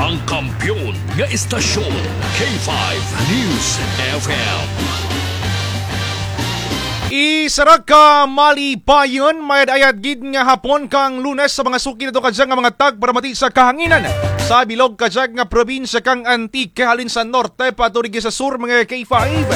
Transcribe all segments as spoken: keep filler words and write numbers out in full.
Ang kampiyon nga istasyon, K five News F M. Isara ka malipayon, mayad-ayad gid nga hapon kang Lunes sa mga suki nato kadya nga mga tagparamati sa kahanginan sa bilog kadya nga probinsya kang Antique, halin sa norte paturigi sa sur, mga K five.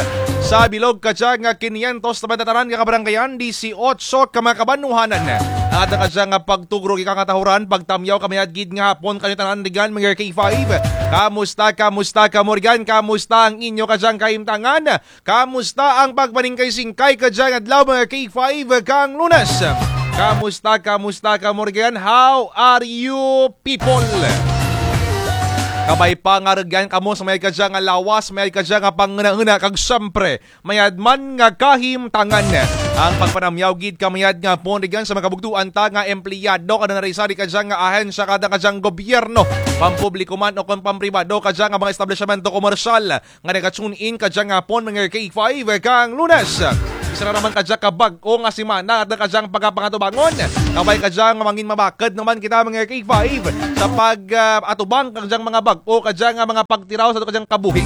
Sa bilog kadya nga kinyentos taman tatanan nga kabaranggayan, disiotso ka mga kabanwahanan. Ang atun kadya nga pagtugro, ika nga tahuran, pagtamyaw ka mayad gid nga hapon kanyo tanan rigan, mga K five. Kamusta, kamusta kamo rigan? Kamusta ang inyo kadyang kahimtangan? Kamusta ang pagpaningkay-singkay kadyang adlaw, mga K five, kang Lunes? Kamusta, kamusta kamo rigan? How are you, people? Kabay pa nga rigan kamo sa may kadyang lawas, may kadyang panghunahuna, kag syempre, mayad man nga kahimtangan. Ang pagpanamyaw gid ka mayad nga hapon rigan sa mga kabugtuan ta nga empleyado, kada na rin sa di kadyang nga ahensya, kada kadyang gobyerno, pampubliko man o kon pampribado, kadyang nga mga establisyamento komersyal nga naga-tune in kadyang hapon, mga K five, kang Lunes. Isara naman kadya ka bag-o nga semana, atun kadyang pagapangatubangon. Kabay kadyang mangin mabakad naman kita, mga K five, sa pag, ah, atubang kadyang mga bag-o, kadyang nga mga pagtiraw sa atun kadyang kabuhi.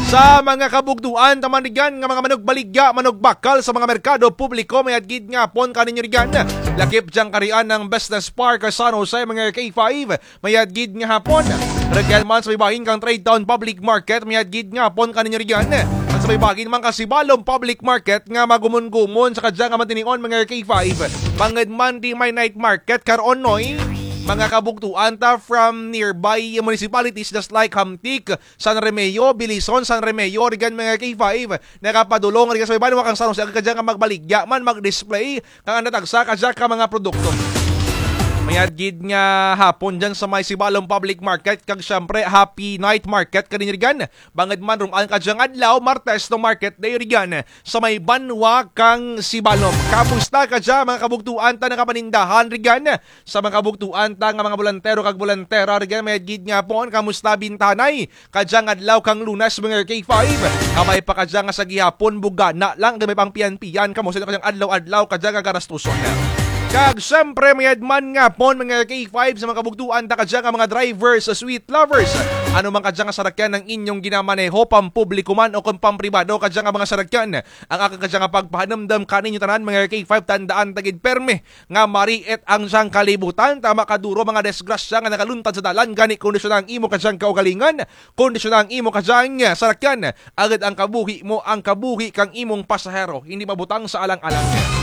Sa mga kabugtuan taman rigan nga mga manugbaligya, manugbakal sa mga merkado publiko, mayad gid nga hapon kaninyo rigan. Lakip dyang karian ang Business Park San Jose, mga K five, mayad gid nga hapon. Rigan man sa may bahin kang Trade Town Public Market, mayad gid nga hapon kaninyo rigan. At sa may bahin man ka Sibalom Public Market nga magumun-gumun sa kadyang nga mga tinion, mga K five. Bangud man di may night market karon, noy, mga kabugtuan ta from nearby municipalities just like Hamtic, San Remeo, Belison, San Remeo, rigan, mga K five. Nakapadulong rigan sa may banwa kang San Jose, kadyang nga magbaligya man, mag-display kang anda tagsa kadya ka mga produkto. Mayad gid nga hapon dyan sa may Sibalom Public Market, kag syempre, happy night market kaninyo rigan. Bangud man run-an kadyang adlaw, Martes no market day rigan sa may banwa kang Sibalom. Kamusta kadya, mga kabugtuan ta nakapanindahan rigan? Sa mga kabugtuan ta nga mga bolantero kag bolantera rigan, mayad gid nga hapon, kamusta bintanay? Kadyang adlaw kang Lunes, mga K five. Kabay pa kadyang nga sa gihapon, bugana lang, gamay pang piyan-piyan kamo sa kadyang adlaw-adlaw kadyang nga garastuson. Kag syempre, mayad man nga hapon, mga K five, sa mga kabugtuan ta kadyang nga mga drivers, sa sweet lovers. Ano man kadyang nga sarakyan ang inyong ginamaneho, pampubliko man o kon pampribado kadyang nga mga sarakyan, ang akun kadyang nga pagpahanumdum kaninyo tanan, mga K five, tandaan ta gid permi nga mariit ang dyang kalibutan, tama kaduro mga disgrasya nga nagaluntad sa dalan, gani kondisyona ang imo kadyang kaugalingan, kondisyona ang imo kadyang sarakyan, agud ang kabuhi mo, ang kabuhi kang imong pasahero, hindi mabutang sa alang-alang.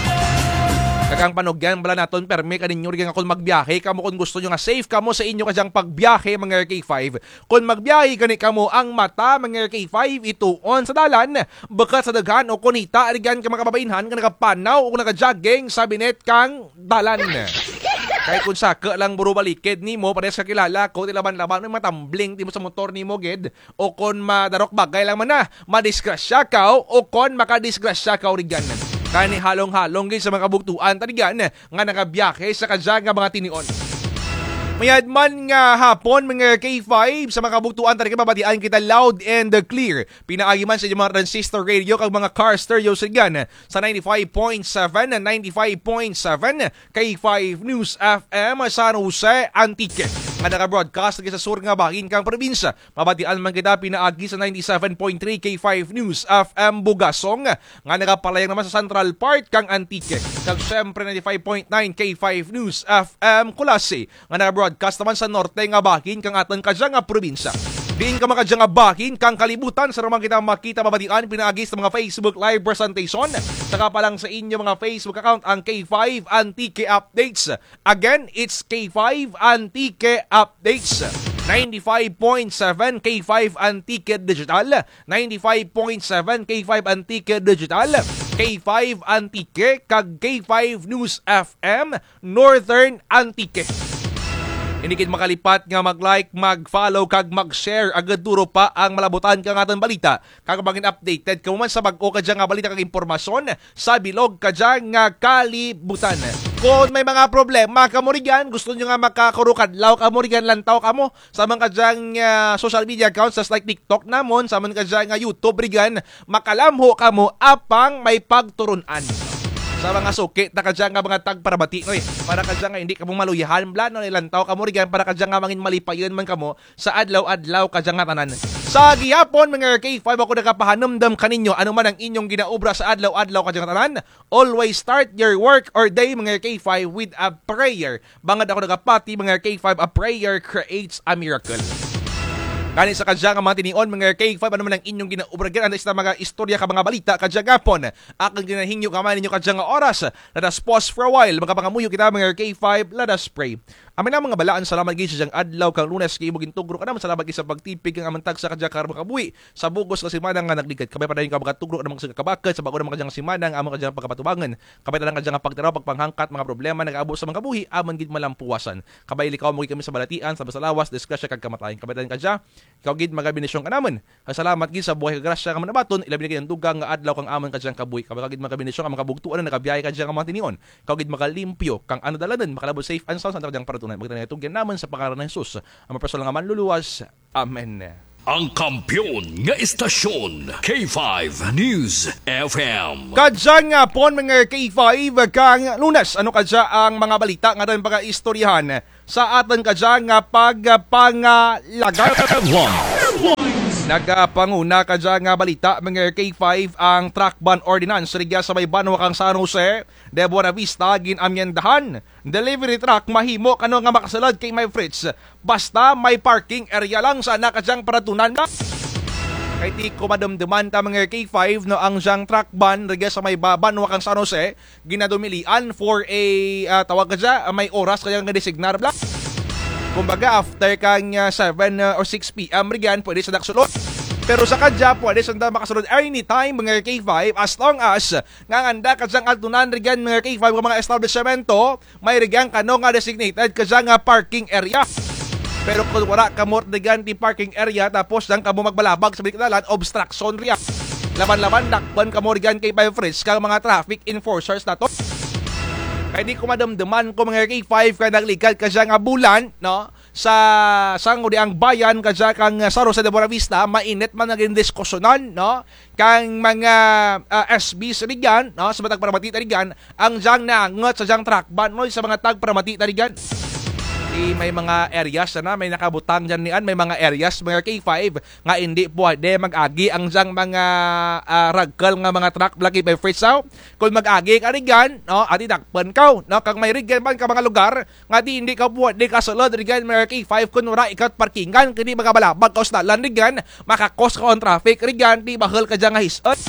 Kag ang panugyan bala natun permi kaninyo rigan nga kon magbiyahe kamo, kon gusto nyo nga safe kamo sa inyo kadyang pagbiyahe, mga K five, kon magbiyahe gani kamo, ang mata, mga K five, ituon sa dalan, bukut sa daghan o kon hita rigan ka mga kababainhan nga nagapanaw o nagajogging sa binit kang dalan. Kay kon saku lang buro balikid nimo, parehas kakilala ko, ti laban-laban, may matumbling timo sa motor nimo gid, o kon madarok bagay lang man na, madisgrasya kaw, o kon makadisgrasya kaw rigan. Kani halong-halong gid sa mga kabugtuan ta rigan nga nagabiyahe sa kadya nga mga tinion. Mayad man nga hapon, mga K five, sa mga kabugtuan ta rigan, mabatian kita loud and clear. Pinaagi man sa inyong mga transistor radio kag mga car stereo rigan sa ninety-five point seven, ninety-five point seven K five News F M San Jose, Antique, nga naga-broadcast sa sur nga bahin kang probinsya. Mabatian man kita pinaagi sa ninety-seven point three K five News F M Bugasong, nga nagapalayang naman sa central part kang Antique. Kag syempre, ninety-five point nine K five News F M Culasi, nga naga-broadcast naman sa norte nga bahin kang atun kadya nga probinsya. Diin ka man kadya nga bahin kang kalibutan, sa naman kita makita, mabatian pinaagi sa mga Facebook Live presentation, saka pa lang sa inyo mga Facebook account, ang K five Antique Updates. Again, it's K five Antique Updates. Ninety-five point seven K five Antique Digital, ninety-five point seven K five Antique Digital, K five Antique, kag K five News F M Northern Antique. Hindi gid makalipat nga mag-like, mag-follow, kag mag-share, agud duro pa ang malabutan kang atun balita. Kag mangin updated kamo man sa bag-o kadya nga balita kag impormasyon sa bilog kadya nga kalibutan. Kon may mga problema kamo rigan, gusto nyo nga makakurukadlaw kamo rigan, lantaw kamo sa man kadya nga, ah, social media accounts, just like TikTok namon, sa man kadya nga YouTube rigan, makalamho kamo apang may pagturun-an. Sa mga suki ta kadya nga mga tagparamati, noy. Para kadya nga indi kamo maluyahan bala, no, ilantaw kamo rugyan, para kadya nga mangin malipayon man kamo sa adlaw-adlaw kadya nga tanan. Sa gihapon, mga K five, ako nagapahanumdum kaninyo, ano man ang inyong ginaobra sa adlaw-adlaw kadya nga tanan, always start your work or day, mga K five, with a prayer. Bangud ako nagapati, mga K five, a prayer creates a miracle. Gani sa kadya nga mga tinion, mga K five, ano man ang inyong ginaobra rugyan, anda sa mga istorya kag mga balita kadya gihapon. Akun ginahingyo kang mga ninyo kadya nga oras. Let us pause for a while. Makapangamuyo kita, mga K five. Let us pray. Amen. Ama nga balaan, salamat gid sa dyang adlaw kang Lunes nga imo gintugro kanamun. Salamat gid sa pagtipig kang amun tagsa kadya karong mga kabuhi. Sa bug-os nga semana nga nagligad, kabay padayon ka magatugro kanamun sa kabakod sa bag-o na mga kadya nga semana nga amun kadya nga pagapatubangon. Kabay tanan kadya nga pagtanaw, pagpanghangkat, mga problema nagaabot sa mga kabuhi, amun gid malampuwasan. Kabay likaw mo gid kami sa balatian, sa, sa lawas, disgrasya kag kamatayon. Kabay tanan kadya, ikaw gid magabendisyon kanamun. Kag salamat gid sa buhay kag grasya nga amun abaton, ilabi na gid ang dugang nga adlaw kang amun kadyang kabuhi. Kabay ka gid magabendisyon kang mga kabugtoan nga nagabiyahe kadya nga mga tinion. Ikaw gid magalimpyo kang ano dalanun, makalabot safe and sound sa kadyang paratunan. Magtanay tugyan namun sa pangaran ni Jesus, ang mga personal nga manluluwas. Amen. Ang kampiyon nga istasyon, K five News F M. Kadya gihapon, mga K five, kang Lunes, ano kadya ang mga balita nga atun pagaistoryahan sa atun kadya nga pagpangalagan? Nagapanguna kadya nga balita, mga K five, ang truck ban ordinance rugya sa may banwa kang San Jose de Buenavista, gin-amyendahan. Delivery truck mahimo kano nga makasulod, K five Fritz, basta may parking area lang sa ana kadyang paratunan. Kay ti ko madumduman ta, mga K five, no, ang dyang truck ban rugya sa may ba-, banwa kang San Jose, ginadumilian for a, ah, tawag kadya, ah, may oras kadya nga designar bala. Kumbaga, after kang, ah, seven, ah, or six P M rugyan, pwede sanda kasulod. Pero sa kadya, pwede sanda makasulod anytime, mga K five, as long as nga ang anda kadyang altunan rugyan, mga K five, nga mga establisyemento, may rugyan kano nga designated kadya nga parking area. Pero kon wara kamo rugyan ti parking area, tapos dyan kamo magbalabag sa balik dalan, obstruction rugyan. Laban-laban, dakpun kamo rugyan, K five Fritz, kang mga traffic enforcers natun. Kay ti ko madumduman ko, mga K five, kay nagligad kadya nga bulan, no? Sa sangguniang bayan kadya kang San Jose de Buenavista, mainit man nga gindiskusyonan, no? Kang mga, ah, S Bs rugyan, no? Sa mga tagparamati ta rugyan, ang dyang naangut sa dyang truck ban, no? Sa mga tagparamati ta rugyan. Ti may mga areas na, may nakabutang dyan niyan, may mga areas, mga K five, nga indi pwede mag-agi ang dyang mga, ah, ragkul nga mga truck bala, K five Fritz, aw. Kon mag-agi ka rugyan, no? Adi dakpun kaw, no? Kag may rugyan man kang mga lugar, nga ti indi kaw pwede kasulod rugyan, mga K five, kon wara ikaw ti parkingan, kay ti magabalabag kaw sa dalan rugyan, maka-cause kaw ang traffic rugyan, ti bahul kadya nga his-un.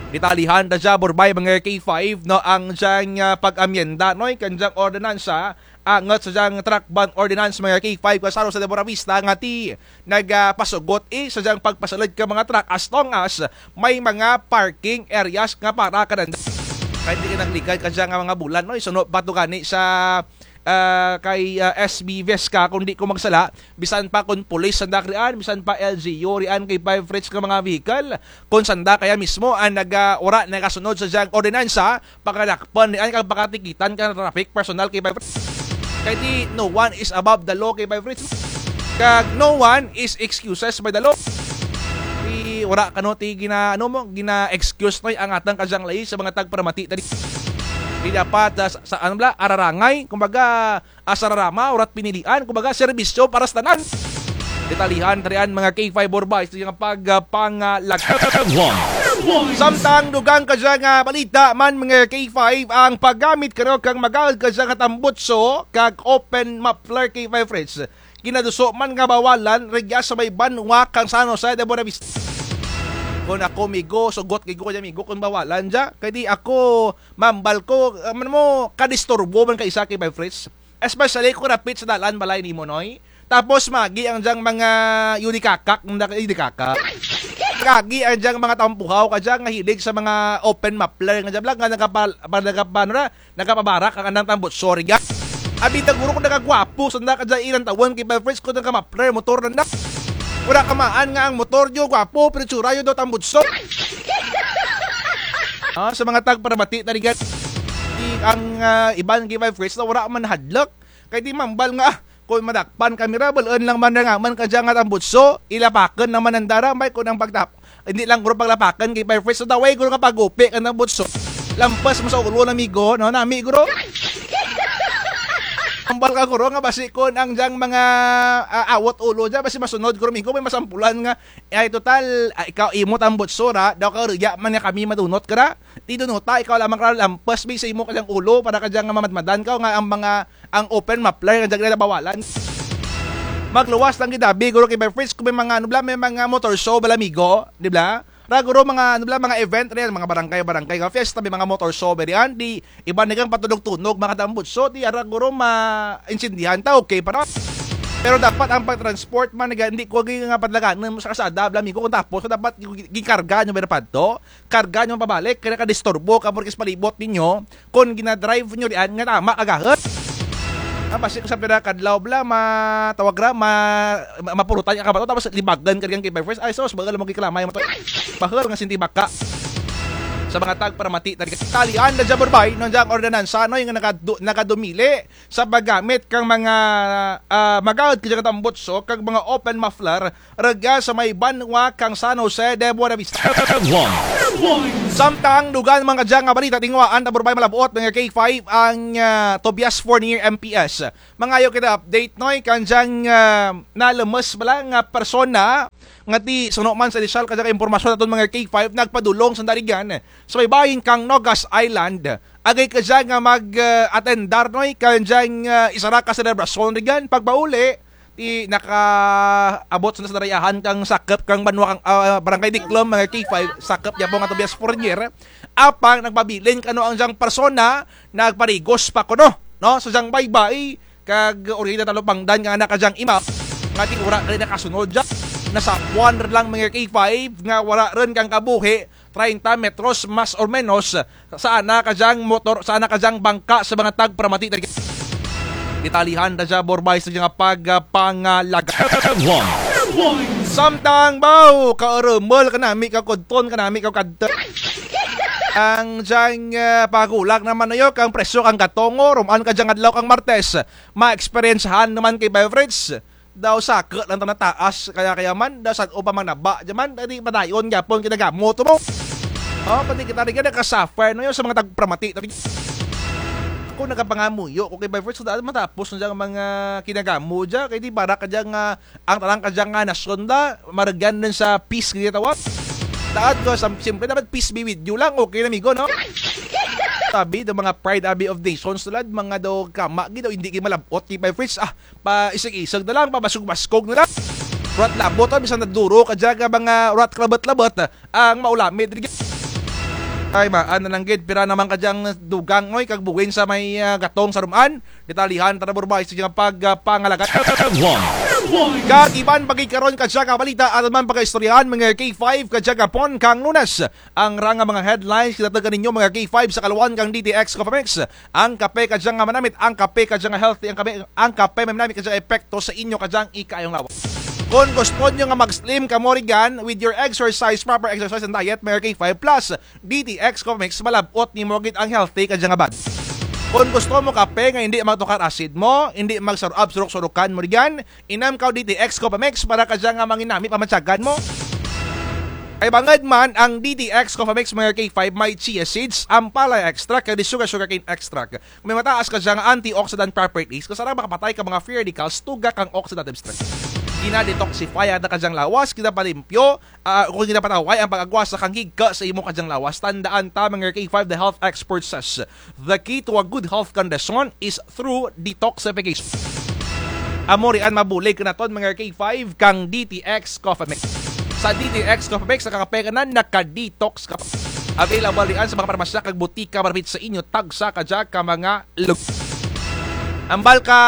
Detalyehan ta dya, Borbay, mga K five, no, ang dyang, ah, pag-amyenda, no, kang dyang ordinansa, angut sa dyang truck ban ordinance, mga K five, kang San Jose de Buenavista, nga ti nagapasugot, eh, sa dyang pagpasulod kang mga truck as long as may mga parking areas nga para kananda. Kay ti nagligad kadya nga mga bulan, no? Isuno pa to gani sa, ah, kay, ah, S B Vesca, kon di ko magsala, bisan pa kon pulis sanda riyan, bisan pa L G U riyan, K five Fritz, nga mga vehicle, kon sanda kaya mismo ang naga-, wara nagasunod sa dyang ordinansa, pakadakpun riyan kag pakatikitan kang traffic personal, K five Fritz. Kay ti no one is above the law, K five Fritz. Kag no one is excuses by the law. Ti wara kano ti gina-, ano mo, gina-excuse, noy, ang atun kadyang layi sa mga tagparamati ta rugyan. Ti dapat, ah, sa, sa, ano bala, ararangay, kumbaga, asararama, wara't pinilian, kumbaga, serbisyo para sa tanan. Detalyehan ta riyan, mga K five, Borbay, sa dyang pag-, ah, pangalaga. Samtang dugang kadya nga balita man, mga K five, ang paggamit kano kang magaud kadya nga tambutso kag open muffler, K five Fritz, ginaduso man nga bawalan rugya sa may banwa kang San Jose de Buenavista. Kon ako, migo, sugot gid ko kadya, migo, kon bawalan dya. Kay ti ako, mambal ko, ah, man mo, kadisturbo man kay isa, K five Fritz. Especially kon rapit sa dalan balay nimo, noy. Tapos maagi ang dyang mga yudikakak, nda-, yudikakak. Maagi ang dyang mga tampuhaw kadya nga hilig sa mga open muffler nga dyan bala, nga nagapa-, pa-, nagapa-, ano na, nagapabarak ang andang tambutso rugyan. Abi, taguro kon nagagwapo sanda kadya ilang tawon, K five Fritz, kon naga-muffler motor nanda. Wara kamaan nga ang motor dyo gwapo, pero itsura dyo daw tambutso. Ah, sa mga tagparamati ta rugyan, ti ang, ah, iban, K five Fritz, na wara man hadluk. Kay ti mambal nga, ah, kon madakpan kami ra, bul-un lang man ra nga man kadya nga tambutso, ilapakun lang man nanda ra, ambay kon ang pagtap-, indi lang guro paglapakun, K five Fritz, sa daway guro nga pagupi kang tambutso. Lampas mo sa ulo, amigo, no? Nami, guro. Hambal ka, guro, nga basi kon ang dyang mga, ah, awot ulo dya, basi masunod, guro, amigo, may masampulan nga, ay, total, ah, ikaw, imo tambutso ra, daw ka, rugya man nga kami madunot ka ra. Ti dunota, ikaw lamang ra lampas, bi, sa imo ka dyang ulo, para ka dyang mamadmadan ka, nga ang mga, ang open muffler, nga dyan, bawalan. Magluwas lang gid abi, guro, kay by Fritz, kung may mga, ano bala, may mga motor show bala, amigo, di bala? Ra guro mga, ano bala, mga event ra dyan, mga barangay-barangay nga fiesta, may mga motor show, bala dyan, di, iba na kang patunog-tunog, mga tambutso, di, ara guro, ma-, intindihan ta, okay pa ra. Pero dapat ang pag-transport man, nga, hindi ko gi nga padalagan mo sa kalsada, bala, amigo, kung tapos, dapat gi-, gikarga nyo, bala, padto, karga nyo pabalik, kaya nakadisturbo ka, porque sa palibot ninyo, kon ginadrive nyo diyan nga tama ka gahod. Ah, basi sa pira ka adlaw bala, matawag ra, ma-, ma-, mapurutan ka ba to, tapos libagan ka diyan kay by Fritz. Ay, sus, bahul mo gikalamay mo to. Bahul nga sinti baka. Sa mga tagparamati, tali-an ra dya, Borbay, no, dya ang ordinansa, no, nga nakadu-, nakadumili sa paggamit kang mga, ah, magahod ka dya nga tambutso, kag mga open muffler, rugya sa may banwa kang San Jose de Buenavista. Samtang dugang mga dya nga balita, tinguhaan ta, Borbay, malab-ot, mga K five, ang, ah, Tobias Fornier M P S. Mangayo kita update, noy, kang dyang, ah, nalumus bala nga persona, nga ti suno man sa inisyal ka dya nga impormasyon aton, mga K five, nagpadulong sa Darigan, sa may bahin kang Nogas Island. Agay ka dya nga mag, ah, atendar, noy, kang dyang, ah, isara ka selebrasyon, Darigan, pagpauli, ti nakaabot sa darayahan kang sakup kang banwa kang, ah, Barangay Diklom, mga K five, sakup dya po nga Tobias Fornier. Apang nagpabilin kano ang dyang persona, nagparigos pa kuno, no? Sa dyang baybay, kag orida talupangdan nga anak ka dyang ima, nga ti wara kay nakasunod dya. Nasapwan ra lang, mga K five, nga wara run kang kabuhi, treinta metros, mas or menos, sa ana ka dyang motor, sa ana ka dyang bangka sa mga tagparamati. Detalihan ta dya, Borbay, sa dyang pagpangalaga. Samtang baw, kaurumul kanami, kakudton kanami, kakadto. Ang dyang, ah, pagulak naman nayo, kang presyo kang gatong, o, ruman ka dyang adlaw kang Martes, ma-experiencehan naman kay Beverage. Daw saka lang ta nataas, kaya, kaya man, daw sad-o pa man naba, dya man, di padayon gyapon kinagamot mo. O, pati kita rin nga nakasuffer, no, yung sa mga tagparamati. Ako nagapangamuyo ko kay Beverage, sa daan matapos na dyang mga kinagamot dya, kay di para ka dyang, ah, ang tanang ka dyang nga nasyon da, maragyan dun sa peace, kaya tawag. Dapat ko, sam-, siyempre, dapat peace be with you lang, okay na, amigo, no? Sabi, daw mga pride, abi, of nations, tulad, mga daw kama, gid, daw hindi kayo malabot, kay Beverage, ah, pa isig-isig na lang, pa baskog-baskog na lang. Rat labot, ah, bisan naduro ka dyan, ka mga rat kalabot-labot, ah, ang maulami, diri. Ay, maan na lang gid, pira naman ka dyang dugang, oy, kag buwin sa may, ah, gatong sa rumaan. Detalihan, tara, Borbay, sa dyang pag, ah, pangalaga. Kag iban pa gid karon ka dyan, ka balita, aton man pagaistoryahan, mga K five, ka dyan, kapon, kang Lunes. Ang rang nga mga headlines, kita tagan ninyo, mga K five, sa kaluan kang D T X Coffee Mix. Ang kape ka dyan nga manamit, ang kape ka dyan nga healthy, ang kape, ang kape manamit ka dyan epekto sa inyo ka dyan ikaayong lawas. Kung gusto nyo nga mag-slim kamo rigan with your exercise, proper exercise and diet, mga K five plus, D T X Coffee Mix, malabot nimo gid ang healthy ka dyan nga bag. Kung gusto mo kape nga hindi magtukar acid mo, hindi magsarap surok-surokan mo rigan, inam kaw D T X Coffee Mix para ka dyan nga manginami pamatyagan mo. Ay bangud man ang D T X Coffee Mix, mga K five, may chia seeds, ampalaya extract, kag sugar, sugarcane extract. May mataas ka dyan nga antioxidant properties, kasarang makapatay ka mga free radicals, tugak ang oxidative stress. Gina-detoxify ang ka dyan lawas, ginapalimpyo, ah, kung ginapataway ang pag-agwas sa kanghig ka sa imo ka dyan lawas. Tandaan ta, mga K five, the health expert says, the key to a good health condition is through detoxification. Amo rian mabulig naton, mga K five, kang D T X Coffee Mix. Sa D T X Coffee Mix, nakakape ka na, naka-detox ka pa. Available rian sa mga parmasya kag butika malapit sa inyo, tagsa ka dyan ka mga lug-. Ambal ka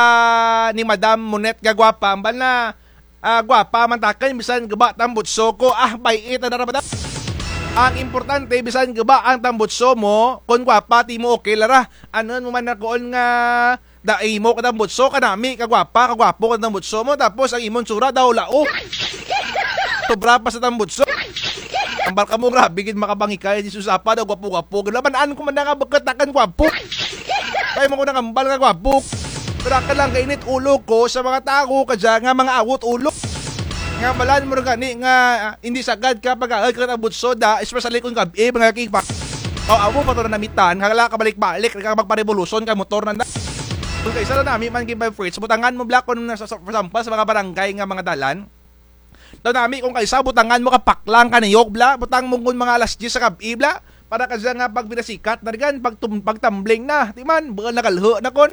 ni Madam Monet nga gwapa, ambal na, ah, gwapa man takun, bisan guba tambutso ko, ah, bay-i ta na ra, madam. Ang importante, bisan guba ang tambutso mo, kon gwapa ti mo, okay lang ra. Ano mo man na kuon nga, da imo ka tambutso, kanami, kagwapa, kagwapo ka tambutso mo, tapos ang imong tsura daw lao. Sobra pa sa tambutso. Ambal kamo, grabe gid makabangikay, Jesus, apa daw gwapo-gwapo. Gid laban-an ko man na nga bukut takun gwapo. Kay mo ko nangambal nga gwapo. Pero ka lang kainit ulo ko sa mga tawo ka dyan nga mga awot ulo. Nga balan mo gani nga, ah, hindi sagad ka pag-aagay ka tambutso da, especially kung gab-i, mga kigpak. Aw, amo pa to nanamitan, hala ka balik-balik, ka magparevolusyon ka motor na na. Kon kaisa daw nami man K five Fritz, butangan mo bala kon sa, sa, for example, sa mga barangay nga mga dalan. Daw nami kon kaisa, butangan mo ka paklang ka niyog bala, butang mo kon mga alas diyes sa gab-i bala. Para kadya nga pag pinasikat na rigan, pag tum-, pag tumbling na, ti man, buul na kalho na kon.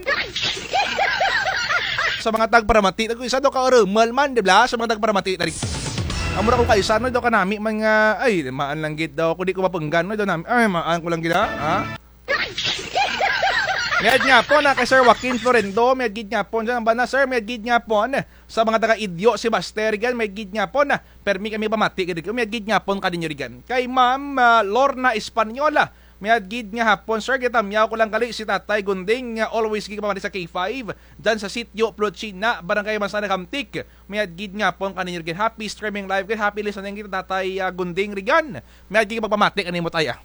Sa mga tagparamati, nagkuisa daw ka orumal man, di bala? Sa mga tagparamati, tari. Amo ra kon kaisa, no, daw kanami man nga, ay, maan lang gid daw, kon di ko mapunggan, no, daw nami, ay, maan ko lang gid, ha? Ha? Mayad nga po na kay Sir Joaquin Florendo, mayad gid nga po, dyan ang bana, sir, mayad gid nga po, sa mga taga Idyo, si Baster, gan, mayad gid nga po na, permi kami pamati, gid, mayad gid nga po kaninyo rigan. Kay Ma'am, ah, Lorna Española, mayad gid nga hapon, sir, gitamyaw ko lang gali si Tatay Gunding, nga always gid pamati sa K five, dyan sa Sitio Plochina, Barangay Manzana, Gamtic. Mayad gid nga hapon kaninyo rigan. Happy streaming live, gid. Happy listening gid, Tatay, ah, Gunding rigan. Mayad gid pagpamati kanimo, Tay, ah.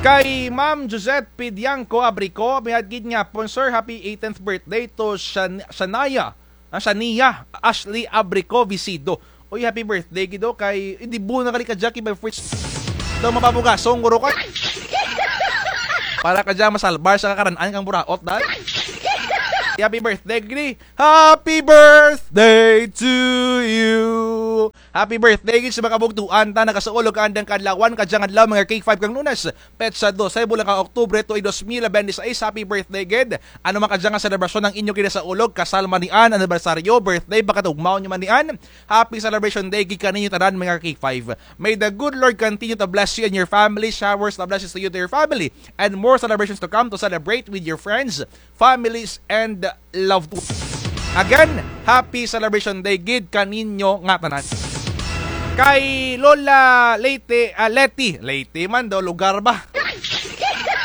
Kay Ma'am Josette Pidianco Abrico, mayad gid nga hapon, sir. Happy eighteenth birthday to Shan-, Shania. Ah, Shania Ashley Abrico Visido. Uy, happy birthday gid daw kay, eh, di buul na gali kadya kay Bay Fritz. Daw mapabugasong guro ka. Para kadya masalbar sa kakaran-an kang buraot, dad. Happy birthday gid. Happy birthday to you. Happy birthday gid sa mga kabugtuan ta, nagasaulog andang kaadlawan, kadyang adlaw, mga K five kang Lunes. Petsa dose, bulan kang Oktubre, tuig dos mil bente sais, happy birthday gid. Ano man kadya nga selebrasyon ang inyo ginasaulog, kasal man niyan, anibersaryo, birthday, pagkatugmaw nyo man niyan, happy celebration day gid kaninyo tanan, mga K five. May the good Lord continue to bless you and your family, showers of blessings to you, to your family, and more celebrations to come to celebrate with your friends, families, and loved ones. Again, happy celebration day gid kaninyo nga tanan. Kay Lola Leyte, ah, Leti, Leyte man daw, lugar ba?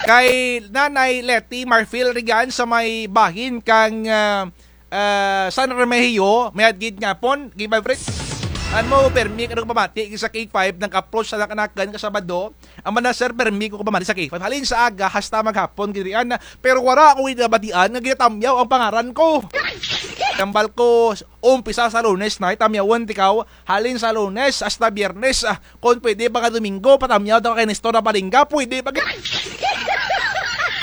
Kay Nanay Leti Marfil rigan sa may bahin kang, ah, ah, San Remigio, mayad gid nga hapon, K five Fritz. Ano mo, permi ka nagpamati sa K five, nag-approach sa nakanakan ka Sabado, Amo na, sir, permi ko pamati sa K five. Halin sa aga, hasta maghapon, gid rian na. Pero wara ko gid nabatian nga ginatamyaw ang pangaran ko. Tambal ko, umpisa sa Lunes na, tamyawon ti kaw. Halin sa Lunes, hasta Biyernes, ah, kon pwede pa nga Domingo, patamyaw daw kay Nestor Abalinga, pwede pa gid.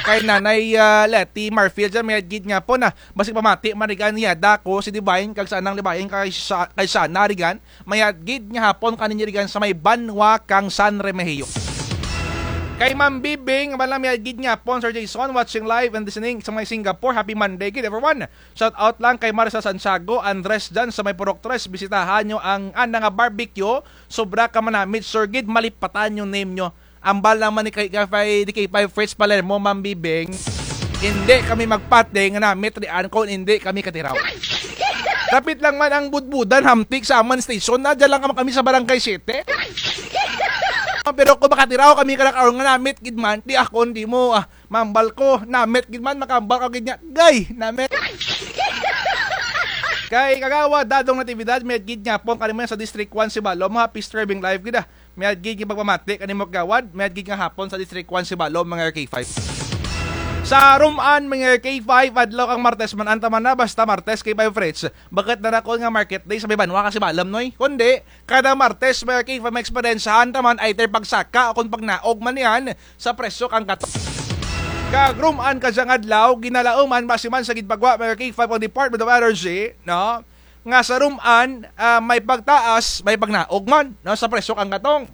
Kay Nanay, ah, Leti Marfil dyan, mayad gid nga hapon, ah. Basig pamati man rigan niya, dako, si Divine, kag sa anang Divine, kay sa, kay Sana rigan. Mayad gid nga hapon kaninyo rigan sa may banwa kang San Remigio. Kay Ma'am Bibing, amo lang mayad gid nga hapon, Sir Jason, watching live and listening sa may Singapore. Happy Monday gid, everyone. Shout out lang kay Marisa Santiago, Andres dyan sa may Purok Tres. Bisitahan nyo ang ana nga barbecue. Sobra ka manamit, sir gid, malipatan yung name nyo. Ambal lang man ni kay, kay, ni K five Fritz Palermo, Ma'am Bibing. Indi kami magpati nga namit rian kon indi kami katiraw. Dapit lang man ang budbudan hamtik sa amun station, na dyan lang man kami sa Barangay Siete. Pero kon makatiraw kami karakaon nga namit gid man, ti akon ti mo, ah, mambal ko, namit gid man, makambal ka gid nga, gay, namit. Kay Kagawad Dadong Natividad, mayad gid nga hapon kanimo sa District one Sibalom, happy streaming live gid, ah. Mayad gid nga pagpamati kanimo, Kagawad. Mayad gid nga hapon sa District one Sibalom, mga K five. Sa Roman, mga K five, adlaw kang Martes man, anta man na, basta Martes, K five Fritz. Bukut na ra kon nga market day sa may banwa kang Sibalom, noy. Kundi, kada Martes, mga K five, maeksperiyensahan ta man, either pagsaka o kon pagnaog man yan, sa presyo kang gatong. Kag Roman kadyang adlaw, ginalauman, basi man sa ginpagwa, mga K five, kang Department of Energy, no? Nga sa Roman, ah, may pagtaas, may pagnaog man, no, sa presyo kang gatong.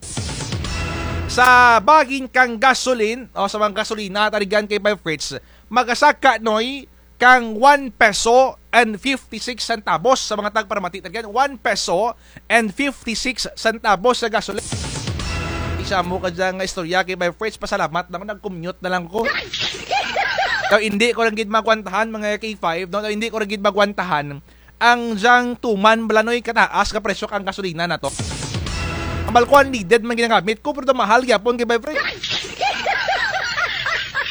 Sa bahin kang gasolin, o sa mga gasolina, tarigan kay Bay Fritz, magasaka, noy, kang one peso and fifty-six centavos sa mga tagparamati, tarigan, one peso and fifty-six centavos sa gasolin. Isa mo kadya nga istorya kay Bay Fritz, pasalamat lang, nag-commute na lang ko. Daw, hindi ko lang gid magwantahan, mga K five, no? Daw, hindi ko lang gid magwantahan ang dyang tuman bala, noy, kataas ka presyo kang gasolina nato. Ambal ko, unleaded man ginagamit ko, pero mahal gyapon kay Bay Fritz.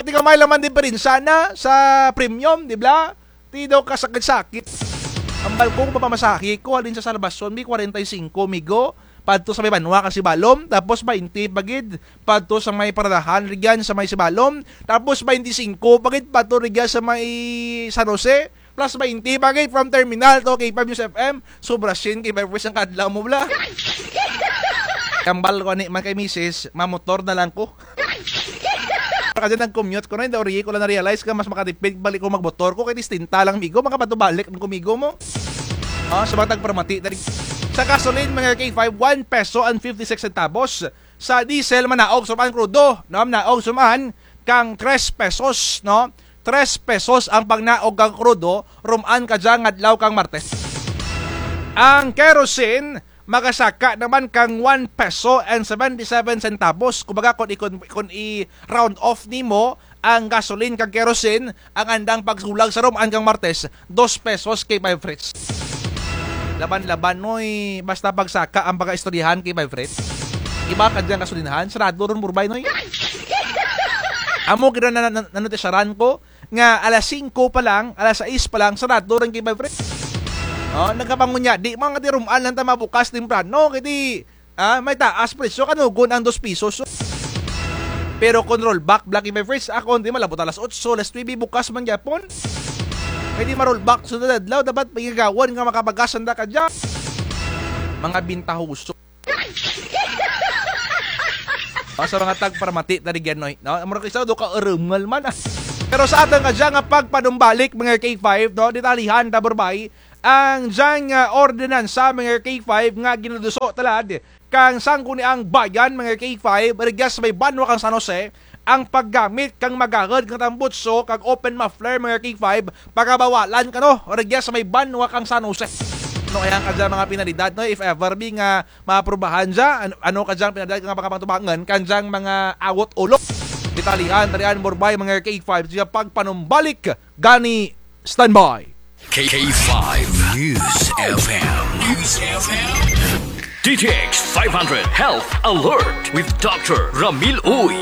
Ti gamay lang man diperensya na sa premium, di bala? Ti daw kasakit-sakit. Ambal ko, kon mapamasahe ko, halin sa Salvacion, may kwarenta y singko, migo, padto sa may banwa kang Sibalom, tapos baynte pa gid, padto sa may paradahan, rigyan sa may Sibalom, tapos baynte singko pa gid, padto rigyan sa may San Jose, Plus baynte pa gid from terminal to K five News F M. Sobra syen kay Bay Fritz ang kaadlaw mo bala. Ambal ko ani man kay misis, mamotor na lang ko. Kadya nag-commute ko, Noy, daw ri ko lang na-realize nga mas makatipid balik ko magmotor ko kay distinta lang, migo, makapatubalik ang kumigo mo. Ah, sa mga tagparamati, dali. Sa gasoline, mga K five, one peso and fifty-six centavos. Sa diesel, manaog suman krudo, no? Manaog suman kang tres pesos, no? Tres pesos ang pagnaog kang krudo, ruman kadya nga adlaw kang Martes. Ang kerosene, makasaka naman kang one peso and seventy-seven centavos. Kumbaga, kung i-, kung, kung i-round off nimo ang gasoline kag kerosene, ang andang pagsulag sa ruman kang Martes, dos pesos K five Fritz. Laban-laban, Noy, basta pagsaka ang pagaistoryahan K five Fritz. Iba kadya ang gasolinahan, sarado run, Borbay, Noy. Amo gid na, na, na, nanotisyaran ko, nga alas singko pa lang, alas sais pa lang, sarado run K five Fritz. Oh, nagkapangunya, di man nga ti ruman lang ta mabukas temprano, kay ti, ah, may taas presyo, kanugon ang dos pisos. Pero kung rollback, Black K five Fritz, ako, di malabot alas otso, alas nuebe, bukas man gyapon. Kay di ma-rollback sa adlaw, dapat pagigawon nga makabagas ang da kadya. Mga bintahoso. O, sa mga tagparamati, tadi ganoy, no? Mura kay sa do ka urungal man, ah. Pero sa atun kadya nga pagpanumbalik, mga K five, no? Detalihan ta, Borbay, ang dyang, ah, ordinansa, mga K five, nga ginaduso talad kang Sangguniang Bayan, mga K five, rugya sa may banwa kang San Jose, ang paggamit kang magahud nga tambutso kag open muffler, mga K five, pagabawalan kano, rugya sa may banwa kang San Jose. No, ayan kadya mga penalidad, no? If ever be nga maaprubahan dya, an-, ano kadyang penalidad nga makapangtubangan, kadyang mga awot ulo. Detalihan, tarian, Borbay, mga K five, sa pagpanumbalik gani, standby. K five News F M. News F M. D T X five hundred Health Alert with Doctor Ramil Uy.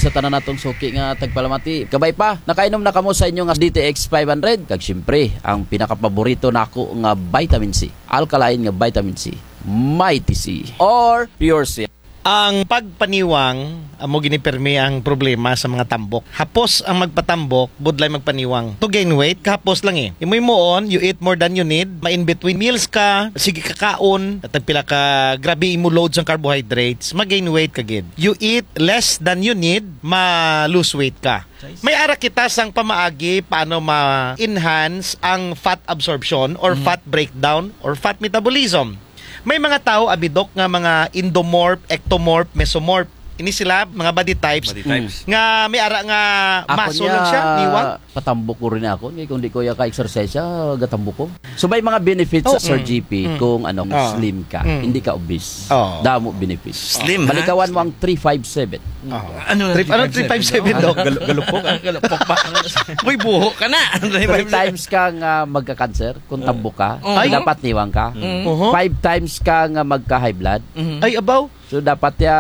Sa tanan natong suki nga tagpalamati. Kabay pa, nakainom na kamo sa inyo nga D T X five hundred. Kag siyempre, ang pinakapaborito nako nga vitamin C. Alkaline nga vitamin C. Mighty C. Or Pure C. Ang pagpaniwang, amo gid ni pirmi ang problema sa mga tambok. Hapos ang magpatambok, budlay magpaniwang. To gain weight, kahapos lang eh. Imo himuon, you eat more than you need, ma-in between meals ka, sige ka kaon, tagpila ka, grabe imo load sa carbohydrates, ma-gain weight ka gid. You eat less than you need, ma-lose weight ka. May ara kita sang pamaagi paano ma-enhance ang fat absorption or fat breakdown or fat metabolism. May mga tawo, abi, Doc, nga mga endomorph, ectomorph, mesomorph. Ini sila, mga body types. Body types. Nga may ara nga muscle lang siya, niwang. Patambok ko run ako. Kay kung di ko ya ka-exercise, ah, gatambok ko. So, may mga benefits sa Sir G P kung, ano, slim ka. Hindi ka obese. Damo benefits. Slim, ha? Balikawan mo ang three five seven. Ano, ano, three five seven, Doc? Gal-, galupok, ah. Galupok ba? Uy, buho ka na. Three times kang, ah, magka-cancer kung tambok ka. Ay. Dapat niwang ka. Five times kang, ah, magka-high blood. Ay, abaw. So, dapat ya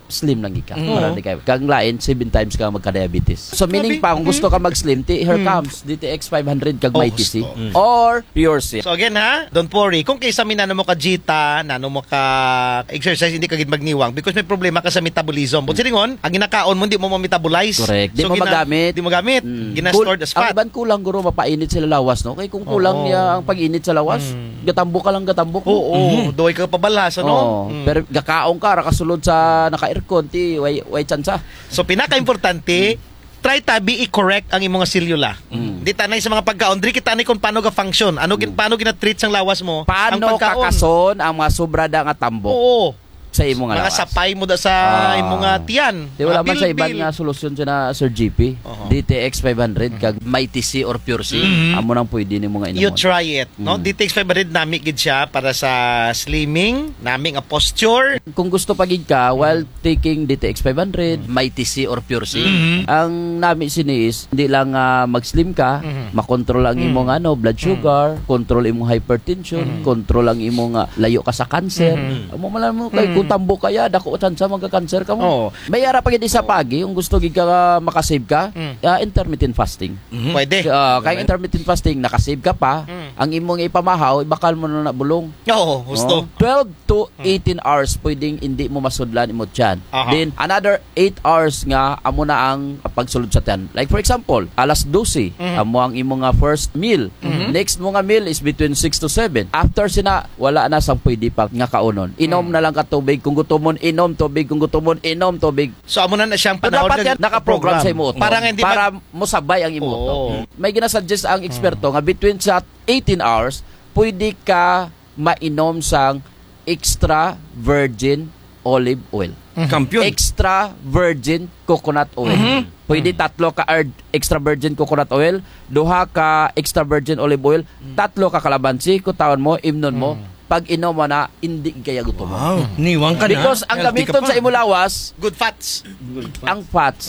slim lang ka. Para di ka. Kang lain, seven times kang magka-diabetes. So, meaning pa, kung gusto ka mag-slim, ti, here comes D T X five hundred kag Mighty C. Or Pure C. So again ha, don't worry. Kung kay sa mi nano mo ka-dieta, nano mo ka-exercise, hindi ka gid magniwang because may problema ka sa metabolism. But silingon, ang ginakaon mo, hindi mo ma-metabolize. Correct. Di mo magamit. Di mo magamit. Gina-stored as fat. Ang iban kulang guro, mapainit sila lawas, no? Kay kung kulang niya ang pag-init sa lawas, gatambok ka lang, gatambok. Oo, duway ka pabalhas, ano? Oo. Pero gakaon ka, ra kasulod sa naka-aircon, ti, way, way tsansa. So, pinaka-importante, try tabi i-correct ang imong nga selula. Di tanay sa mga pagkaon, diri kita anay kung paano ga-function, ano gin-, paano gina-treat sang lawas mo ang pagkaon. Paano kakason ang mga sobra da nga tambok sa imo nga lawas? Mga sapay mo da sa imo nga tiyan. Di wala man sa iban nga solusyon siya na, Sir G P. D T X five hundred, kag Mighty C or Pure C. Amo nang pwede nimo nga inomon. You try it, no? D T X five hundred, nami gid siya para sa slimming, nami nga posture. Kung gusto pa gid ka, while taking D T X five hundred, Mighty C or Pure C. Ang nami sini is, hindi lang, ah, mag-slim ka, makontrol ang imong, ano, blood sugar, control imong hypertension, control ang imong, ah, layo ka sa cancer. Amo man lang mo, kay kung tambok ka ya, dako tsansa magka-cancer ka mo. Oo. May ara pa gid isa pa agi, kung gusto gid ka, ah, makasave ka, ah, intermittent fasting. Pwede. Ah, kay intermittent fasting, nakasave ka pa, ang imong ipamahaw, ibakal mo na na bulong. Oo, husto. Twelve to eighteen hours pwedeng indi mo masudlan imo tiyan. Then another eight hours nga amo na ang pagsulod sa tiyan. Like for example, alas dose, amo ang imo nga first meal. Next mo nga meal is between six to seven. After sina, wala na sang pwede pa nga kaunon. Inom na lang ka tubig. Kung gutomon, inom tubig. Kung gutomon, inom tubig. So, amo na na siyang So, panahon dapat nga yan nakaprogram sa imo utok para nga hindi para mag- mosabay ang imo utok. Oo. May ginasuggest ang eksperto nga between sa eighteen hours, pwede ka mainom sang extra virgin olive oil. Kampiyon. Extra virgin coconut oil. Mhm. Pwede tatlo ka ar-, extra virgin coconut oil, duha ka extra virgin olive oil, tatlo ka kalamansi, kutawon mo, imnon mo, pag-inom mo na, indi kaya gutom. Wow. Niwang ka na. Because ang Healthy ka gamiton pa. Sa imo lawas, Good fats. Ang fats,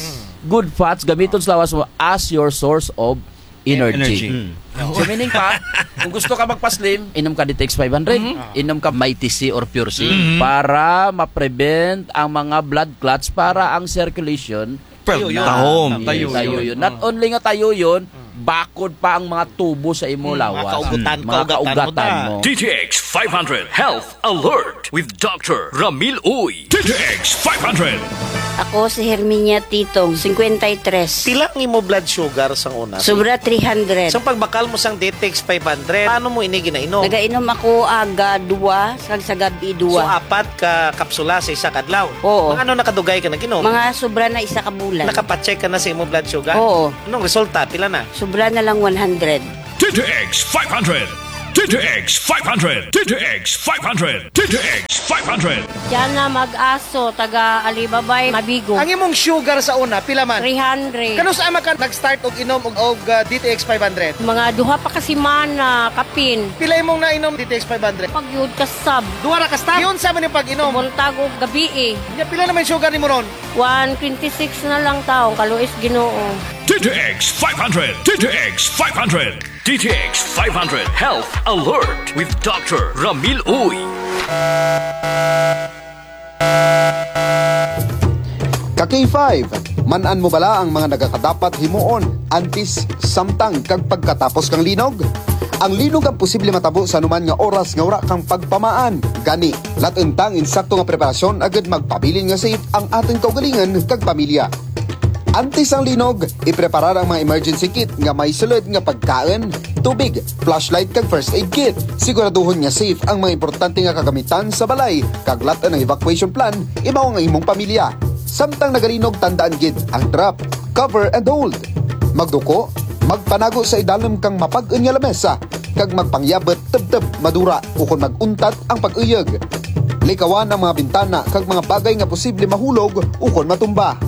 good fats, gamiton sa lawas mo as your source of energy. Energy. Mm. So, meaning pa, kung gusto ka magpa-slim, inom ka D T X five hundred, inom ka Mighty C or Pure C para ma-prevent ang mga blood clots, para ang circulation Pero Tayo yun. Tahom. Tayo Tayo yun. Yun. Not only nga tayo yun, bakod pa ang mga tubo sa imo lawas. Mga kaugutan, mga kaugatan mo kaugatan na. Mo. D T X five hundred Health Alert with Doctor Ramil Uy. D T X five hundred. Ako si Herminia Titong, singkwenta y tres. Pila ang imo blood sugar sang una? Sobra three hundred. Sa pagbakal mo sang D T X five hundred, paano mo ini ginainom? Nagainom ako aga duwa, kag sa gab-i So, duwa. Apat ka kapsula sa isa ka adlaw? Oo. Mga ano na kadugay ka nag-inom? Mga sobra na isa ka bulan. Nakapacheck ka na sa imo blood sugar? Oo. Anong resulta? Pila na? Sobra na lang one hundred. D T X five hundred. D T X five hundred. D T X five hundred. D T X five hundred. Diana Mag-aso, taga Alibabay, Mabigo. Ang imong sugar sa una, pila man? Three hundred. Kanus-a man ka nag-start og inom og, og, ah, D T X five hundred? Mga duha pa ka semana, kapin. Pila imong nainom D T X five hundred? Pagyud ka sab. Duha ra ka stop? Giunsa man ang pag-inom? Buntag ug gabii. Nya, pila na man sugar nimo ron? One twenty-six na lang taon, kaluoy sa Ginoo. D T X five hundred. D T X five hundred. D T X five hundred Health Alert with Doctor Ramil Uy. Ka K five, man-an mo bala ang mga nagakadapat himuon antes, samtang, kag pagkatapos kang linog? Ang linog ang posible matabo sa anuman nga oras nga wara kang pagpamaan. Gani, lat-en ta ang insakto nga preparasyon agud magpabilin nga safe ang atun kaugalingon kag pamilya. Antes ang linog, ipreparar ang mga emergency kit nga may sulud nga pagkaun, tubig, flashlight kag first aid kit. Siguraduhon nga safe ang mga importante nga kagamitan sa balay, kag lat-en ang evacuation plan, imaw ang imong pamilya. Samtang nagalinog, tandaan gid ang drop, cover and hold. Magduko, magpanago sa idalum kang mapag-un nga lamesa, kag magpangyabut tubtub madura ukon mag-untat ang pag-uyog. Likawan ang mga bintana kag mga bagay nga posible mahulog ukon matumba.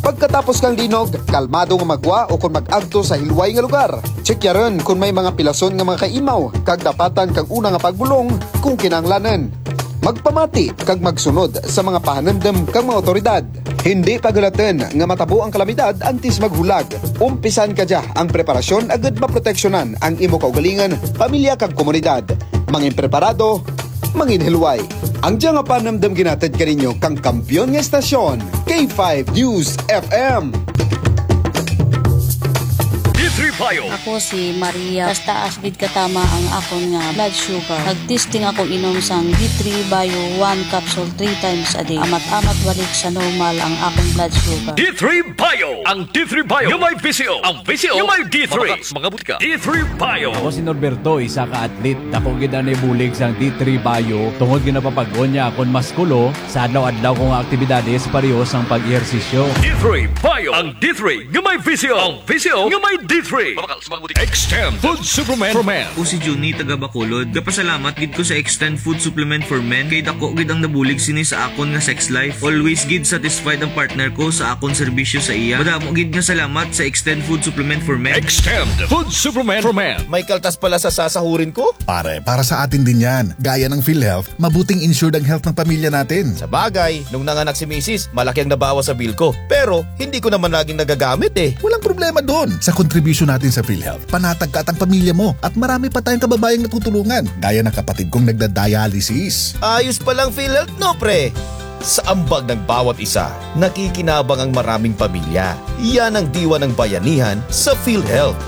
Pagkatapos kang linog, kalmado nga maggwa ukon mag-agto sa hilway nga lugar. Tsikyaron kon may mga pilason nga mga kaimaw, kag dapatan kang una nga pagbulong kon kinahanglanun. Magpamati kag magsunod sa mga pahanumdum kang mga awtoridad. Hindi paghulatun nga matabo ang kalamidad antes maghulag. Umpisan kadya ang preparasyon agud maproteksyonan ang imo kaugalingon, pamilya kag komunidad. Mangin preparado, mangin hilway. Ang dya nga panumdum ginhatid kaninyo kang kampiyon nga estasyon, K five News F M. D three Bio. Ako si Maria. Taas-taas gid katama ang akon nga blood sugar. Nag-testing ako inom sang D three Bio one capsule three times a day. Amat-amat balik sa normal ang akon blood sugar. D three Bio. Ang D three Bio nga may V C O. Ang V C O nga may D three. Mabakal sa mga butika. D three Bio. Ako si Norberto, isa ka athlete. Dako gid ang nahibulig sang D three Bio tungod ginapapag-on niya akon muskulo sa adlaw-adlaw ko nga aktibidades, pareho sang pag-ehersisyo. D three Bio. Ang D three nga may V C O. Ang V C O nga may D three. Mabakal sa mga butika. Extend Food Supplement for Men. Ako si Junie, taga Bacolod. Gapasalamat gid ko sa Extend Food Supplement for Men kay dako gid ang nabulig sini sa akon nga sex life. Always gid satisfied ang partner ko sa akon serbisyo sa iya. Madamo gid nga salamat sa Extend Food Supplement for Men. Extend Food Supplement for Men. May kaltas pala sa sasahurin ko? Pare, para sa atin din yan. Gaya ng PhilHealth, mabuting insured ang health ng pamilya natin. Sabagay, nung nanganak si misis, malaki ang nabawas sa bill ko. Pero, hindi ko naman laging nagagamit eh. Walang problema dun. Sa contribution natin sa PhilHealth, panatag ka at ang pamilya mo. At marami pa tayong kababayang natutulungan, gaya ng kapatid kong nagda-dialysis. Ayos palang PhilHealth, no, pre? Sa ambag ng bawat isa, nakikinabang ang maraming pamilya. Yan ang diwa ng bayanihan sa PhilHealth.